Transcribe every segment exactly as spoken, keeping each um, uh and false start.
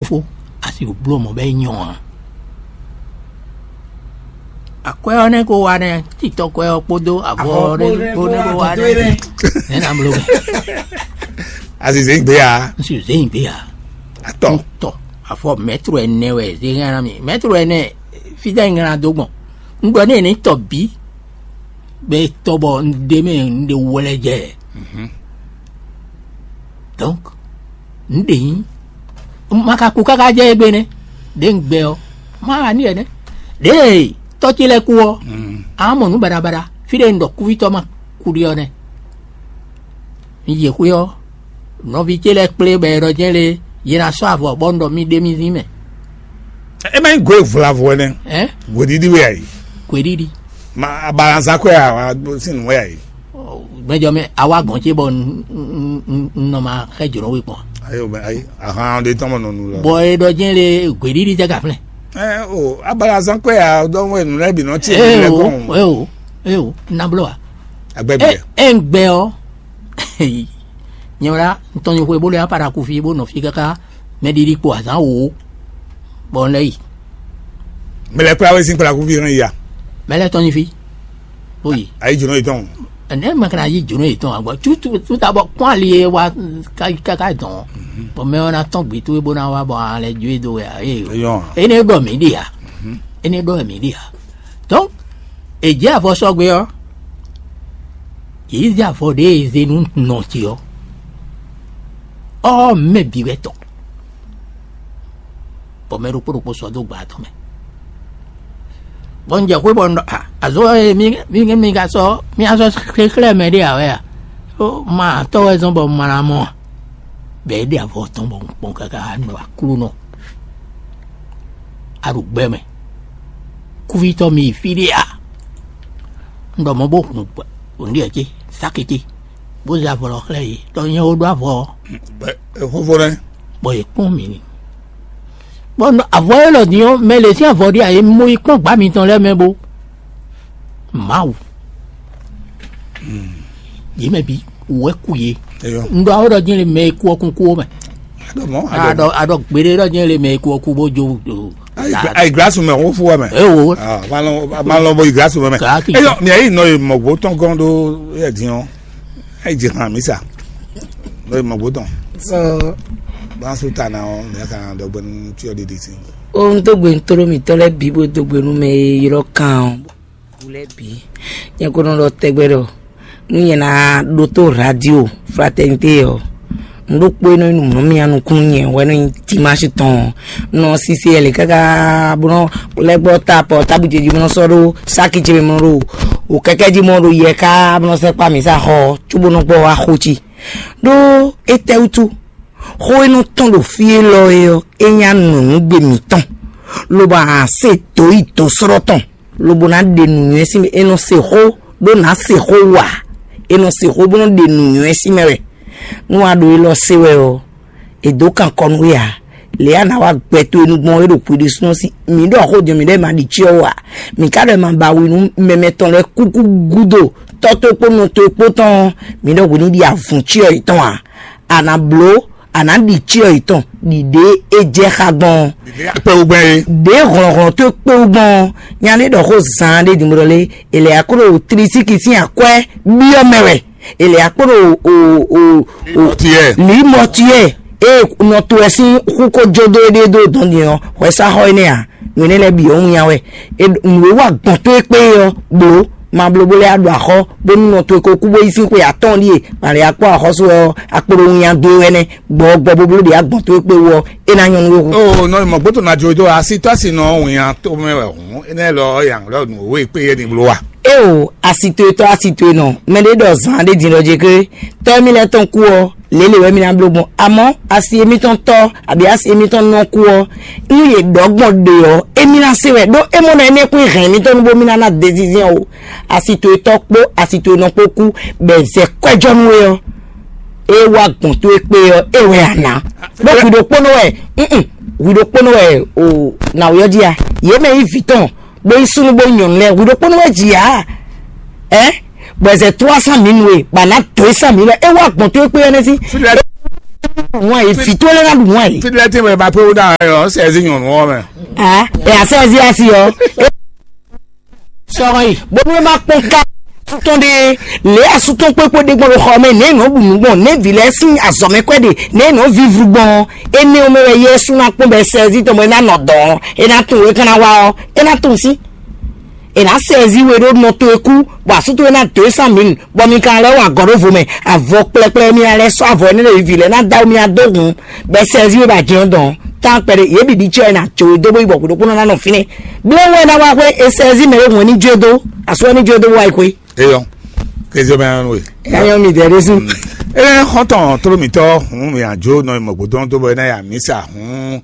Fó, a si bló mɔ̌ bɔ é nyɔ́ ǎ. Akwɛ́ ɔ́ nɛ́ ko wa nɛ́, titɔ́kwɛ́ ɔ́ kpódó avɔ ɔ́ nɛ́ kpó nɛ́ ko wa nɛ́. Nɛ́ ná bló mɛ. Azizɛ gbe ya. N si zé nyigbe ǎ. Atɔ. Tɔ, afɔ mɛtro ɛnɛ wɛ zé hɛn ná mi. Mɛtro ɛnɛ, fí dɛ nyla dó gbɔn. Un ɖɔ n'i ní tɔ bǐ, bɛ tɔ bɔ un ɖe mɛ un ɖe wlɛ jɛ. Donc, un ɖe nyi, ma ka kú káká jɛ égbé nɛ́. Ɖě un gbɛ ɔ́, ma wa ní ɛnɛ. Ɖěe tɔ́ ce lɛ́ɛ kú ɔ́, a mɔ nǔ baɖabaɖa, fí ɖé un ɖɔ kúvítɔ́ ma kú ɖi ɔ́ nɛ́. Un yi xwé ɔ́, nɔví ce lɛ́ɛ kplé bɔ è ɖɔ jɛ́n lé, yě ná sɔ́ avɔ bɔ un ɖɔ mì ɖe mì zín mɛ. E ma nyí gwe vlavɔ ɛnɛ. Ɛ? Gweɖiɖi wɛ ayi. Kwěɖiɖi. Ma abalazan kɔe a wa sin nu wɛ ayi. Gbɛjɔ mɛ, awa gɔn ce bɔ un- un- un- un nɔ ma xɛ jǒnɔ we kpɔn. Ayi o ayi ahan de tɔmɔ nɔnu lɔ. Bɔ è ɖɔ jɛ́n lé, kwěɖiɖi tɛ ka flɛ. Ɛ o abalazan kɔe a dɔn wɛ nu lɛ bi nɔ tse Ee lɛ o, kɔn. ee o, ee o, nablo wa. Agbɛ E biɛ. e ŋgbɛ ɔ, nyɛ wla ntɔn nyɛ xwe bó lɛ apara kufi bó nɔ fi kaka mɛ ɖiɖi kpo azan wo, bɔ un lɛ yi. Mɛ lɛ kura wɛ sin kura kuvi hɛn ya. Mɛ lɛ tɔn nyi fi, bó yi. Ayi jɔnɔ yi tɔn. Ɛnɛ mɛ kana yi jɔnɔ yi tɔn agbɔ tutu tuta bɔ kpɔn ali ye wa kaka dɔn, bɔn mɛ ɔna tɔn gbe to bó na wa bɔ alɛ jo do wɛ ayi. Eyɔn. Ene ɖɔ mi ɖi ya, ene ɖɔ mi ɖi ya. Donc, èjì avɔ sɔgbe ɔ, yìí zé avɔ ɖe eze nu nɔ ti ɔ, ɔ mɛ bi wɛ tɔ. Bɔ mɛ ɖokpó ɖokpó sɔ dó gba tɔn mɛ. Bɔ un jɛ xwé bɔ un ɖɔ, "Ah, azɔ e mi mi mi ka sɔ mi azɔ xexlɛ́ mɛ ɖé awɛ a? Ó ma tɔ́ wɛ zɔn bɔ un ma ná mɔ a?" Bɛ é ɖe avɔ tɔn bɔ un kpɔn káká nɔ aklúnɔ. A ɖo gbɛ mɛ. Kúvítɔ́ mi yi fí ɖé a? Un ɖɔ mɔ bó hun ònɖíɛ ce, sáke ce, bó zé avɔ lɔ xlɛ́ yě, ɖɔ nyɛ ó ɖó avɔ ɔ́. Xófó rɛ. Bɔ yě kpɔ́n mì ni. Bɔ avɔ élɔ́ din ɔ́, mɛ lě sín avɔ ɖíe ǎ, è mɔ yi kpɔ́n gbǎ mitɔn lɛ́ɛ mɛ bó. Mawu. Yě mɛ bǐ wɛ kú yě. Eyɔ. Un ɖɔ awó ɖɔ dín le mɛ e kú ɔ́ kún kú ó mɛ. Aɖɔ mɔ. Aɖɔ aɖɔ gbeɖé ɖɔ dín le mɛ e kú ɔ́ kú bó jó. Ayi glasu mɛ xófó wɛ mɛ. Ewo. Malɔ malɔ bɔ yi glasu mɛ mɛ. Kaki. Eyɔ mi ayi nɔ yi mɔ gbó tɔn gɔn ɖó yɛ din ɔ. Ayi dzi hàn mí sa. Nɔ yi mɔ gbó tɔn. So, Bá su ta na ɔ mi ka dɔgbɛ nu tí ɔ ɖiɖi si. Ohun tó gbé ń tóró mǐtɔn lɛ́ɛ bǐ bó dó gbe nú mɛ e ylɔ́ kan ɔ́. Wú lɛ́ɛ bǐ. Nyɛ ko nɔ ɖɔ tɛgbɛ ɖɔ nú nyɛ ná ɖótó radio fraternité ɔ́, nǔ ɖokpó e nɔ nyí nǔmlɔ́mya nukúnnú nyɛ wɛ nɔ nyí dimanche tɔn ɔ́. Nɔ sise ɛlɛ káká bó nɔ lɛ́ gbɔ ta pɔ tábìjɛ jí bó nɔ sɔ́ ɖó sáki ce mɛ mɔ ɖo wò kɛkɛ jí mɔ ɖo yɛ ká bó nɔ sɛ́ kpá mǐ sa xɔ cóbó nɔ gbɔ wá xó cí. Ɖó étɛ́ wútu? Xó e nɔ tɔ́n ɖo fí élɔ́ é ɔ́, é nyí anɔ̌nugbe mǐtɔn, lobo a se dǒ yi dǒsrɔ́ tɔn, lobo ná ɖe nǔnywɛ́ sín mɛ. È nɔ se xó ɖó ná se xó wa, è nɔ se xó bó nɔ ɖe nǔnywɛ́ sín mɛ wɛ. Nú a ɖo élɔ́ se wɛ ɔ́, è dǒ kan kɔ nú we ǎ. Lě a nǎ wa gbɛ towe nu gbɔn é ɖo hwi ɖésúnɔ sí. Mǐ ɖɔ xó jɛ mǐ ɖɔ è ma ɖi cyɔ ó ǎ. Mǐ ka ɖɔ è ma ba wi nú mɛmɛ tɔn lɛ́ɛ kúkú gúdo tɔ́ towe kpó nɔ towe kpó tɔn ɔ́, mǐ ɖɔ hwi ní ɖi avǔn cyɔ yětɔn ǎ. A nǎ bló, a nǎ ɖi cyɔ yětɔn ɖi ɖě é jɛ xá gbɔn ɔ́. Kpɛ wo gbɛn ye. Ɖě hlɔ̌nhlɔ́n towe kpé wú gbɔn ɔ́, nya ní ɖɔ xó zaan ɖé din bó ɖɔ lé, è lɛ akó ɖo tlisíki sín akwɛ́ byɔ́ mɛ wɛ. È lɛ akó ɖo o o o Tiɛ. Lǐmɔtuyɛ e nɔ to wɛ sín xú ko jó dó éɖée dó dɔn din ɔ́, hwɛsáxɔ énɛ́ ǎ. Nǔ énɛ́ lɛ́ɛ bǐ ɔ́ wínnyá wɛ. È ɖo- nǔ e wa gbɔn tó e kpé é ɔ́, blǒ. Ma bló bó lɛ́ ɖo axɔ́ bónú nɔ towe ko kú bó yí sín xwe atɔ́ɔ́n ɖíe màlɛ akpɔ́ axɔ́sú ɔ́ akpóɖó wínnyá dó é wɛ nɛ́. Gbɔ̌ gbɔ bó bló ɖě agbɔn tó e kpé wú ɔ́, é ná nyɔ́ nú we hu. O nɔ mɔ gbótó na jo dó asitɔ si nɔ wìnyá tó mɛ wɛ hùn énɛ́ lɔ yàn lɔ nù owó ìpè yé ni bló wa. Eo, asitoetɔ asitoenɔ, mɛɖé ɖɔ zan ɖé din ɖɔ jɛ ké tɔ́ émí lɛ́ɛ tɔn kú ɔ́, lě lě wɛ mí ná bló gbɔn. Amɔ̌, asi émítɔn tɔ́, abǐ asi émítɔn nɔ kú ɔ́, nú yě ɖɔ gbɔn ɖe ɔ́, émí ná se wɛ ɖó é mɔ nɔ énɛ́ kún hɛn émítɔn nú bó mí ná ná dézizɛ́n o. Asitoetɔ kpó asitoenɔ kpó kú, bɔ è zɛ kwɛ́jɔ nú we ɔ́, é wá gbɔn tó é kpé ɔ́, é wɛ a nǎ. Ɖó hwi ɖokpónɔ wɛ, mm, hwi ɖokpónɔ wɛ o nǎwe ɔ́ jí a. Yě mɛ nyí vǐ tɔn, bó nyí súnnu bó nyí nyɔ̌nu lɛ́ɛ, hwi ɖokpónɔ wɛ jǐ a. Ɛ, bɔ è zɛ tló wá sán mǐ nu e, bɔ a nǎ dǒ é sán mǐ lɛ́ɛ, é wá gbɔn tó é kpé ɔ́ nɛ́ sí. Wọ́n yìí fi tó lé ná ɖu wọ́n yìí. Fidilɛ tí mo ba pé wúdà ẹ̀ ọ́ sẹ́ẹ̀sì nyɔ̀nù ọ́ mẹ́. Ẹ àṣẹ ẹ̀sì àṣì ọ́. Sọ̀rọ̀ yìí. Bónú ẹ má kpɔn ká sútɔn ɖe lě asútɔn kpékpé ɖe gbɔn ɖo xɔ mɛ nɛ nɔ ɖu nǔ gbɔn nɛ vǐ lɛ́ɛ sín azɔ̌ mɛ kwɛ́ ɖe nɛ nɔ vívú gbɔn. Énɛ́ ɔ́ mɛ wɛ Yɛsu ná kpɔn bɔ sɛ́zí tɔn bɔ é ná nɔ dɔ̌ ɔ́, é ná tunwun é ka ná wá ɔ́, é ná tunwun sín. È nǎ sɛ ezi we ɖó nɔ towe kú, bɔ asú towe ná dǒ e sín amǐ nu, bɔ mi ka lɛ́ wa gɔ̌ ɖó vo mɛ. Avɔ kplɛkplɛ mi ná lɛ́ sɔ́ avɔ énɛ́ lɛ́ɛ vivi lɛ́ɛ ná dó awu mi ná dó hun, bɔ è sɛ ezi we bɔ ajɛ ɔ́ dɔn. Tán kpɛɖé yě bǐ ɖi cyɔ e ná jó e dó bó yi bɔ hwěɖokpónɔ ná nɔ fínɛ́. Blɛ́ wɛ ná wá xwé è sɛ ezi mɛ e hun ɛ ní jó e dó, asú ɔ́ ní jó e dó bó wá yi xwé. Eyɔ, kézé mɛ ɔ́ nú we. Ɛ nyɔ mi dɛ ɖésú. Ɛ xɔntɔn tló mitɔ hun mi ajo nɔ mɔ gbódó tó bɔ ná ya misa hun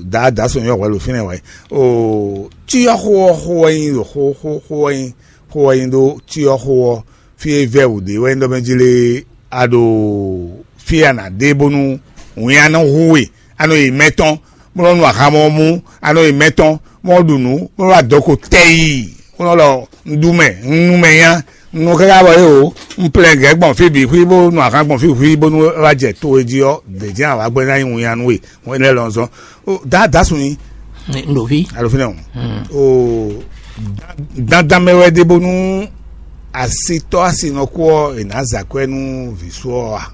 da da sɔn yɔ wɛlú fínɛ wɛ. O tí yɔ xó ɔ xó wɛ nyi xó xó xó wɛ nyi xó wɛ nyi ɖó tí yɔ xó ɔ fí e vɛ wǔ ɖe wɛ nyi ɖɔ mɛ jí lé a ɖo fí a nǎ ɖe bónú wǐn a nɔ hu we a nɔ yi mɛtɔn bó nɔ nu ahan mɔ mú a nɔ yi mɛtɔn bó nɔ ɖu nǔ bó nɔ wá dɔko tɛyi bó nɔ lɔ un ɖu mɛ un nu mɛ nya un nu káká bɔ é o un plɛ gɛ̌ gbɔn fí bǐ xwí bó nu ahan gbɔn fí xwí bónú é wá jɛ to e jí ɔ́ dě jɛ́n awǎ gbɛ́ ná nyí wǐn a nú we wɛn lɛ́ lɔn zɔn. Dǎ dǎ sun nyi. N ɖo fí. Alo fínɛ́ o. O dandan mɛ wɛ ɖe bónú asitɔ́ asinɔkú ɔ́ è nǎ zǎ kwɛ́ nú vǐ sú ɔ́ a?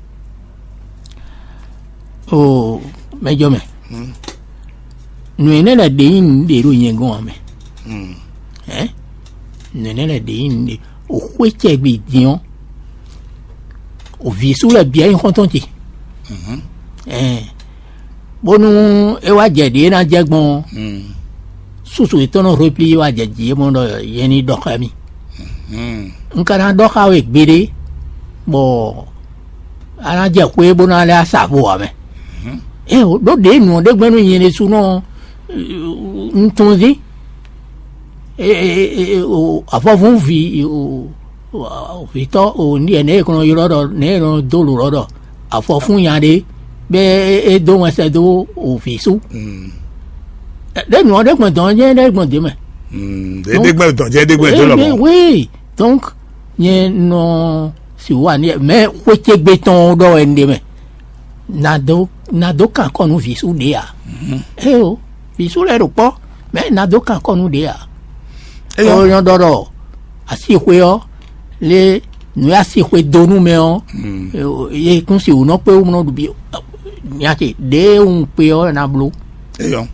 O mɛjɔ mɛ. Nǔ énɛ́ lɛ́ɛ ɖě nyí nǔɖé ɖo nyɛ gɔ́n ǎ mɛ. Ɛ nǔ énɛ́ lɛ́ɛ ɖě nyí nǔɖé o xwé cɛ gbe din ɔ́, o vǐ sú lɛ́ɛ bǐ wɛ nyí xɔ́ntɔn ce. Ɛɛ bónú é wá jɛ ɖě ná jɛ gbɔn ɔ́, susu yětɔn nɔ hwepli wá jɛ jǐ é mɔ ɖɔ yɛ ní ɖɔ xá mì. Un ka ná ɖɔ xá we gbeɖé, bɔ a ná jɛ xwé bó ná lɛ́ sa vo ǎ mɛ. Ée ɖó ɖě nǔ ɔ́ ɖé gbɛ́ nú nyɛ ɖésúnɔ un tunwun dín. Avɔvún ví vǐtɔ́ ní ɛ nɛ̌ è nɔ ylɔ́ ɖɔ nɛ̌ è nɔ dó lǒ ɖɔ ɖɔ afɔ fún nya ɖé bɛ é dó wɛn sɛ dó vǐ sú. Ɖé nǔ ɔ́ ɖé gbɔn dɔn jɛ́n ɖé gbɔn dě mɛ. Ɖé gbɛ́ dɔn jɛ ɖé gbɛ́ dó lɔ mɔ. Oui, donc nyɛ nɔ si wà ní mɛ xwé ce gbé tɔn ɖɔ wɛ ɖé mɛ. Nado nado kan kɔ nú vǐ sú ɖé a? Eo, vǐ sú lɛ́ɛ ɖo kpɔ́, mɛ nado kan kɔ nú ɖé a? Ó nyɔ́ ɖɔ ɖɔ asixwé ɔ́ lé nǔ e asixwé dó nú mɛ ɔ́, yě kún si wǔ nɔ kpé wú nɔ ɖu bí nya ce ɖěe un kpé ɔ́ ná bló. Eyɔ.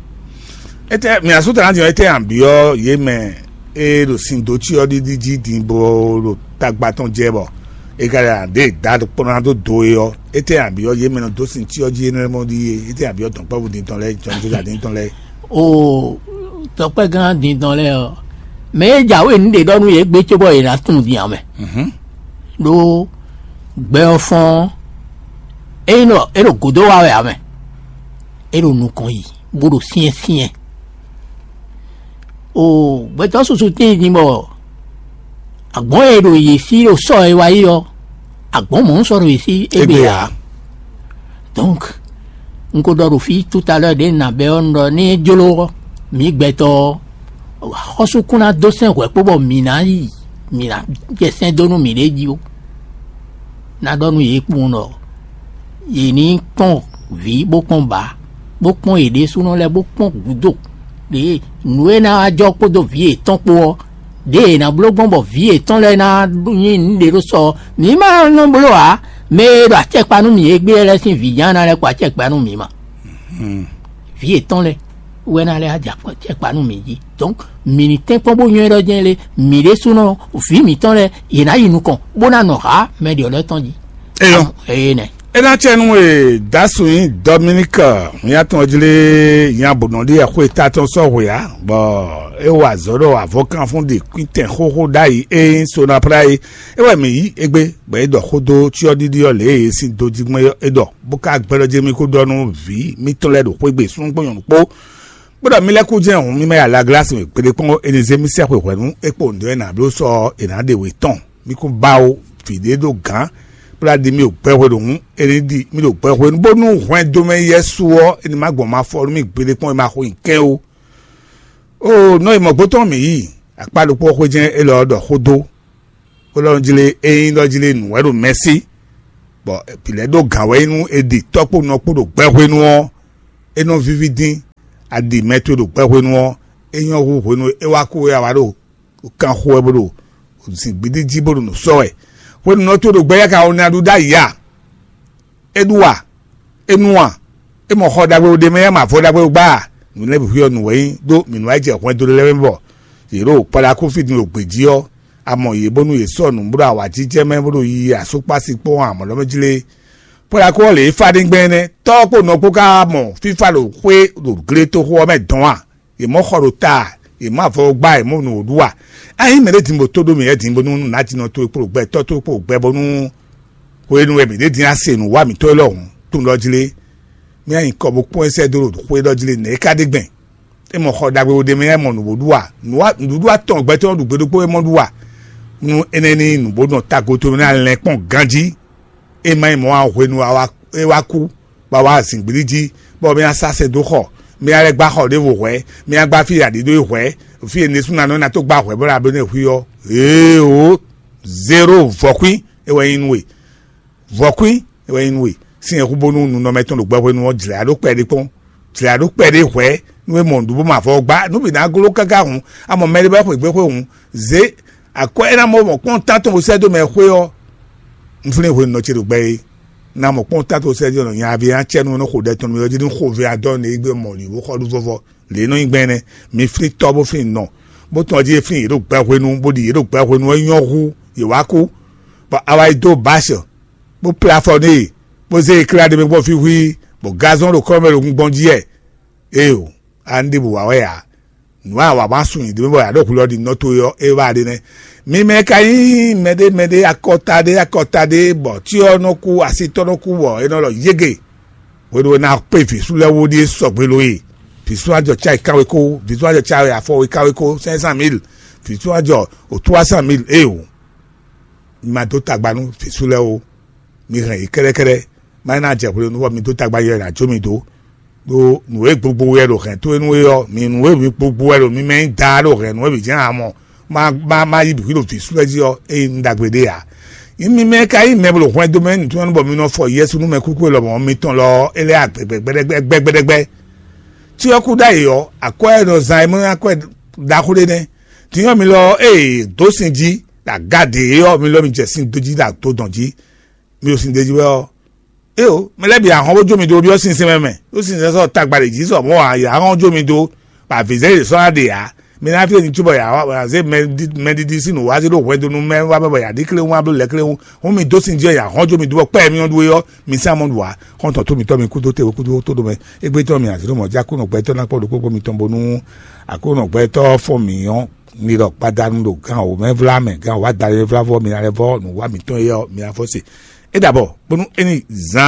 Ete mi asúta ná din ɔ́, ete àn byɔ́ yě mɛ e ɖo sin dó cyɔ ɖiɖi jí din bó ɖo tagba tɔn jɛ bɔ è ka ɖe ǎ ɖe da kpɔ́n ná dó do é ɔ́, étɛ́ ǎ byɔ́ yě mɛ nɔ dó sin cyɔ jí énɛ́ mɔ ɖíe? Étɛ́ ǎ byɔ́ dɔ̌nkpɛ́vú din tɔn lɛ́ɛ, jɔnjɔ́ din tɔn lɛ́ɛ? O dɔ̌nkpɛ́gán din tɔn lɛ́ɛ ɔ́, mɛ e jǎwe nǔ ɖe ɖɔ nú yě gbé cóbɔ yě ná tunwun din ǎ mɛ. Ɖó gbɛ ɔ́ fɔ́n ɔ́, é nyí ɖɔ é ɖo gǒdó wa wɛ ǎ mɛ. É ɖo nukɔn yi bó ɖo syɛ́nsyɛ́n. O gbɛtɔ́ susu tíin din bɔ agbɔ̌n e ɖo yě sí ɖo sɔ́ e wá yi ɔ́, agbɔ̌n mɔ̌ sɔ́ ɖo yě sí égbé ǎ. Donc un ko ɖɔ ɖo fí tout à l'heure ɖě un ná bɛ́ ɔ́, un ɖɔ ní é jló mǐ gbɛtɔ́ ɔ́, xɔ́sú kún ná dó sɛn hwɛ̌ kpó bɔ mǐ ná yi mǐ ná jɛ sɛn dó nú mǐɖée jí ó. Ná ɖɔ nú yě kpowun ɖɔ yě ní kpɔ́n vǐ bó kpɔ́n bǎ, bó kpɔ́n yě ɖésúnɔ lɛ́ɛ bó kpɔ́n gǔdo ɖě nǔ e ná wá jɔ kpódó vǐ yětɔn kpó ɔ́, ɖěe è nǎ bló gbɔn bɔ vǐ yětɔn lɛ́ɛ ná nyí nǔɖé ɖó sɔ ɔ́, mǐ ma nɔ bló ǎ. Mɛ e ɖo acɛkpa nú mǐ égbé lɛ́ɛ sín vǐ ján ná lɛ́ kɔ acɛkpa nú mǐ ma. Vǐ yětɔn lɛ́ɛ wɛ ná lɛ́ wá jɛ acɛkpa nú mǐ jí. Donc mǐ ní tɛ́nkpɔ́n bó nywɛ́ ɖɔ jɛ́n lé, mǐ ɖésúnɔ vǐ mǐtɔn lɛ́ɛ yě ná yi nukɔn bó ná nɔ hǎ mɛ ɖě lɛ́ɛ tɔn jí. Eyɔ. Eye nɛ. É ná cɛ nú e dasun nyí Dominique nyatɔn jlé nya bò nɔ ɖi ɛxwé ta tɔn sɔ́ hwe ǎ, bɔ é wa azɔ̌ ɖɔ avɔkánfún ɖi kwítɛn xóxó ɖ'ayǐ é nyí Sonapra é. É wɛ mǐ yí égbé, bɔ é ɖɔ xó dó cyɔ́ɖiɖi ɔ́ lě e é sín dó jí gbɔn é ɖɔ, bó ka gbɛ́ ɖɔ jɛ́n mì kó ɖɔ nú vǐ mítɔn lɛ́ɛ ɖo xwé gbe súnnu kpó nyɔ̌nu kpó, bó ɖɔ mì lɛ́ kú jɛ́n hǔn mì má yi alaglá sín wěkpéɖé kpɔ́n é ní zé mì sɛ́ xweyǐhwɛ̌nu é kpo nǔɖé e nǎ bló sɔ́ è nǎ ɖe wě tɔn. Mì kún ba ó, vǐ ɖé ɖo gǎn, bó ná ɖi mì ɖo gbɛhwe ɖo hǔn, é ní ɖi mì ɖo gbɛhwe nú bónú hwɛndo mɛ yɛ́ su ɔ́, é ní má gbɔn ma fɔ nú mì gbeɖé kpɔ́n é ma xo nyi kɛ́n ó. Oo, nɔ yi mɔ̌gbó tɔn mǐ yi, akpá ɖokpó xwé jɛ́n élɔ́ ɔ́ ɖɔ xó dó, bó ɖɔ jlé é nyí ɖɔ jlé nǔ wɛ ɖo mɛ̌si. Bɔ vǐ lɛ́ɛ ɖó gǎn wɛ nú è ɖi tɔ́ kpó nɔ kpó ɖo gbɛhwenu ɔ́, é nɔ víví dín. A ɖi mɛ towe ɖo gbɛhwenu ɔ́, é nyɔ́ hú hwenu e é wá kú é a wá ɖo kan xo wɛ bó ɖo zǐngbídí jí bó ɖo nǔ sɔ́ wɛ. Hwenu nɔ towe ɖo gbɛ yá ka wɔ ná ɖu ɖ'ayǐ a? É ɖu a? É nu a? É mɔ xɔ ɖagbe ɖé mɛ yá mɔ avɔ ɖagbe gbá a? Nǔ lɛ́ɛ bǐ xwíyɔ nǔ wɛ nyí ɖó mǐ nú wá yi jɛ hwɛndo lɛ́ɛ mɛ bɔ yě ɖo kpɔɖakúfí din ɖo gbějí ɔ́, a mɔ yě bónú yě sɔ́ nǔ bó ɖo awǎjijɛ mɛ bó ɖo yiyi asúkpási kpɔ́n amɔ̌ lɔ́ mɛ jí lé. Kpɔɖakú ɔ́ lě e fá ɖé gbɛn énɛ́, tɔ́ ɔ́ kpo nɔ kpó ka mɔ fífá ɖo xwé ɖo gletoxo ɔ́ mɛ dɔn a? Yě mɔ xɔ ɖo ta a? Yě mɔ avɔ gbá a? Yě mɔ nǔ ɖu a? Ényí mɛ ɖé din bó tó ɖó mǐ wɛ din bónú nǎjínɔ towe kpo gbɛ tɔ́ towe kpo gbɛ bónú hwenu e mǐ ɖe din a se nǔ wa mǐtɔn élɔ́ hǔn, tunwun ɖɔ jí lé. Mì nyi kɔ bó kpɔ́n ɛ sɛ́ dó ɖo xwé ɖɔ jí lé, nɛ̌ é ka ɖe gbɛn? É mɔ xɔ ɖagbe wo ɖ'é mɛ, é mɔ nǔ bó ɖu a? Nǔɖuɖu atɔn gbɛtɔ́ ɖu gbe ɖokpó é mɔ ɖu a? Nú énɛ́ ní nǔ bó nɔ tago towe mɛ ná lɛ́n kpɔ́n ganjí. É má nyí mɔ̌ ǎ, hwenu e é wá kú, bɔ a wá zǐngbíɖí jí, bɔ mì ná sá sɛn dó xɔ, mì ná lɛ́ gbá xɔ ɖěvo hwɛ̌, mì ná gbá fí e a ɖǐ dó é hwɛ̌, fí e nɛsúnanɔ ná tó gbá hwɛ̌ bó ná bló ná hu i ɔ́. Ee o, zéro vɔ̌kwín é wɛ nyí nú we. Vɔ̌kwín é wɛ nyí nú we. Sín e hu bónú nunɔmɛ tɔn ɖo gbɛhwenu ɔ́, jlɛ̌ ɖó kpɛɖé kpɔ́n, jlɛ̌ ɖó kpɛɖé hwɛ̌ nú é mɔ nǔɖuɖu bó mɔ avɔ gbá, nú bǐ ná gló káká hǔn, a mɔ mɛɖé bɔ é xweyǐgbe xwe hǔn, zě akwɛ́ é ná mɔ mɔ kpɔ́n tán tɔn bó sɛ́ dó mɛ xwé ɔ́. Un flín hwenu nɔ ce ɖo gbɛ é, ná mɔ kpɔ́n tán tɔn bó sɛ́ dó nɔ nyaví ná cɛ nú nɔ xo ɖɛ tɔn nú mɛ ɔ́ jí ní xo vɛ adɔ nǔ e gbé mɔ lǐ bó xɔ ɖu vɔvɔ. Lě e nɔ nyí gbɛn énɛ́, mi flín tɔ́ bó flín nɔ, bó tɔn jí é flín yě ɖo gbɛhwenu, bó ɖi yě ɖo gbɛhwenu ɔ́ nyɔ́ hú yě wá kú, bɔ a wá yi dó bǎsɔ, bó plé afɔ n'i, bó zé e klá ɖe mɛ gbɔn fí hwíí, bɔ gazɔ́n ɖo kɔ́ mɛ ɖo gun gbɔn jí wɛ. Éeǒ, a ní ɖěbǔ wa wɛ ǎ. Nǔ e a wa ma sun nyi ɖě mɛ bɔ a ɖo hu lɔ ɖi nɔ towe ɔ́, é wá ɖe nɛ́. Mi mɛ ka nyí mɛɖé mɛɖé akɔta ɖé akɔta ɖé, bɔ cyɔ nɔ kú, asitɔ́ nɔ kú, bɔ é nɔ ɖɔ yége. Hwenu e ná kpé vǐ sú lɛ́ɛ wú ɖíe sɔgbe lo e. Vǐ sú ajɔ cá yi kánwé kó, vǐ sú ajɔ cá yi afɔ wé kánwé kó, cinq cent mille, vǐ sú ajɔ o trois cent mille. Éeǒ, mi ma dó tagba nú vǐ sú lɛ́ɛ o. Mi hɛn yě kɛ́ɖɛ́kɛ́ɖɛ́, má ná jɛ hwenu bɔ mi dó tagba yɛ ná jó mi dó. Ɖó nǔ e gbogbo wɛ ɖo hɛn towe nú é ɔ́, mi nǔ e mi gbogbo wɛ ɖo mi mɛ nyí daa ɖo hɛn nǔ e mǐ jɛ́n ǎ mɔ, má má má yí bǐ ɖo vǐ sú lɛ́ɛ jí ɔ́, é nyí nǔ ɖagbe ɖé ǎ. Nyí mi mɛ ka nyí mɛ bó ɖo hwɛndo mɛ nǔtɔn bɔ mi nɔ fɔ Yɛsu nú mɛkúkú e lɔmɔ̌ mitɔn lɔ ɔ́, é lɛ́ agbɛgbɛgbɛɖɛgbɛ. Tí ɔ́ kú ɖ'ayǐ ɔ́, akwɛ́ e nɔ zán é mɔ akwɛ́ ɖaxó ɖé nɛ́. Din ɔ́ mi lɔ ée dǒ sin jí ɖo aga ɖě ɔ́, mi lɔ mi jɛ sin dó jí ɖo ato dɔn jí, mi ɖo sin d'é jí wɛ ɔ́, éeǒ, mɛ lɛ́ɛ bǐ ahɔn bó jó mi dó byɔ́ sinsɛn mɛ mɛ, ɖó sinsɛn sɔ́ tagba ɖě jí sɔ mɔ̌ ǎ, yě ahɔn jó mi dó, bɔ avǐzɛ́n yě sɔ́ ná ɖe ǎ. Mi ná fí e mi cí bɔ yě ahɔn zé mɛɖiɖi sín nǔ wá zé ɖó hwɛndo nú mɛ wá mɛ bɔ yě aɖí kléwún wá bló lɛ̌ kléwún, hǔn mi dó sin jí ɔ́, yě ahɔn jó mi dó bɔ kpɛ́ e mi nyɔ́ ɖu é ɔ́, mi sán mɔ ɖu ǎ. Xɔ́ntɔn tó mitɔ́ mi kúdó te wekúdó tó ɖo mɛ. Égbé tɔn mi azǐ ɖo mɔ̌ jí Aklúnɔ gbɛtɔ́ ná kpɔ́ ɖokpó kpó mitɔn bónú Aklúnɔ gbɛtɔ́ fɔ́n mǐ ɔ́, mi ɖɔ gbadanu ɖo gán wǒ mɛ vlá mɛ, gán wǒ wá da lɛ́ vlá vɔ́ mi ná lɛ́ vɔ́ nǔ wá mǐtɔn é ɔ́, mi ná fɔ se. É ɖabɔ bónú é ní zán